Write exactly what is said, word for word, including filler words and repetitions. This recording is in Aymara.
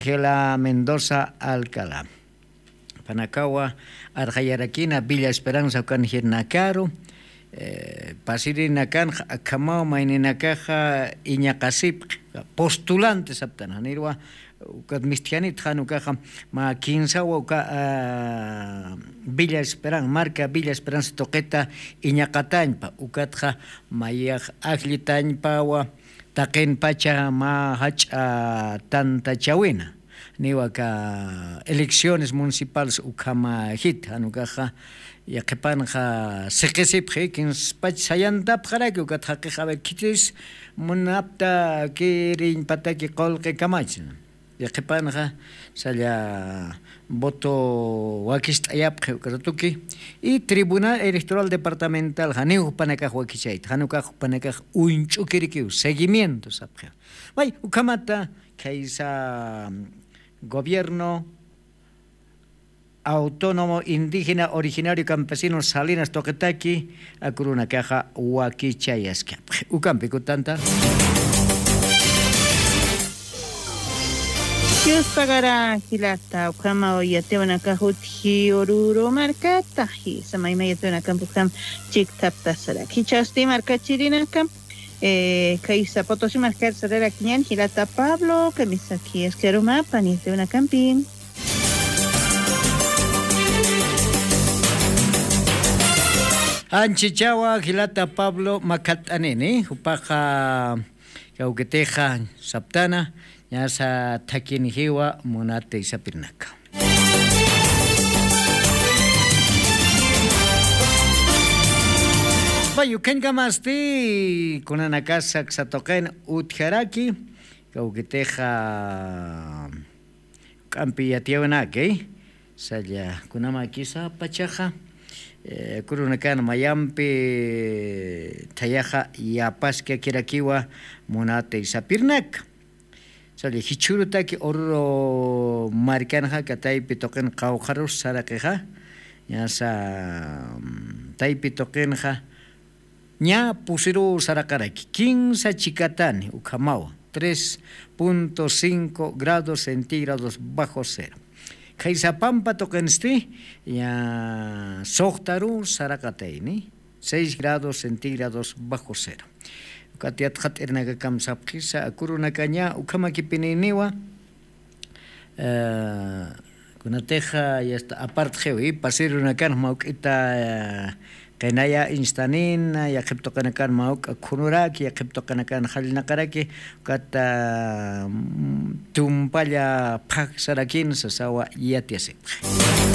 Ángela Mendoza Alcalá. Panakawa arxayarakina Villa Esperanza ukan jirnakaru. Pasirinakanxa akhamaw mayninakaxa iñaqasipxi, postulantes aptan janirwa. Ukat mistjanit jan ukaxa mä kinsawa uka Villa Esperanza, marka Villa Esperanza tuqita iñaqatañpa. Ukatxa mayax ajllitañpawa taqinpacha mä jach'a tantachawina. Niwaka elecciones municipales ukhama jit jan ukaxa yaqhipanxa siqisipxi kinspach sayantapxaraki ukat jaqix aver khitis munapta kiriñpataki qulqi kamachna. Yaqhipanxa salla voto wakist'ayapxi uka ratuki. Y tribunal electoral departamental janiw jupanakax wakichayta jan ukax jupanakax uñch'ukirikiw seguimiento sapxi. May ukhamata khaysa gobierno autónomo indígena originario campesino salinas tuqitaki akurunakaxa wakichayaskapxi ukampikutanta. Dios pagara jilata ukhama yatiwanakax utji ururu markata jisa mayma yatiwanakampi ukham chiktaptasarak jichasti markachirinakam. Kaysa potosi markar sararakiñan jilata pablo kamisaki askharumapa niyatiwanakampi. Anchichawa jilata pablo makhat'anini jupaxa kawkitixa saptana ñasa thakinijiwa munata isapirinaka. Pay ukhañkamasti kunanakasa ksatuqin utjaraki kawkitixa k'ampi yatiyawinaki salla kunamakisa pachaxa kurunakan mayampi thayaxa yapaskakirakiwa munata isapirinaka. Salla jichhürutaki ururu markanxa kataypi tuqin qawqharus saraqixa ñasa taypi tuqinxa ña pusiruw saraqaraki kinsa chikatani ukhamawa tres punto cinco grados centígrados bajo cero. Khaysapampa tuqinsti ña suxtaruw saraqatayni seis grados centígrados bajo cero. Ukat yatxat'irinakakam sapxisa akurunakaña ukhamakipininiwa kunatixa yasta apartxiwi pasirunakanx mawk'ita qinaya instanina yaqhiptuqinakan mawk'a khunuraki yaqhiptuqinakan jallnaqaraki ukata tumpalla phaksarakin sasawa yatiyasipxi.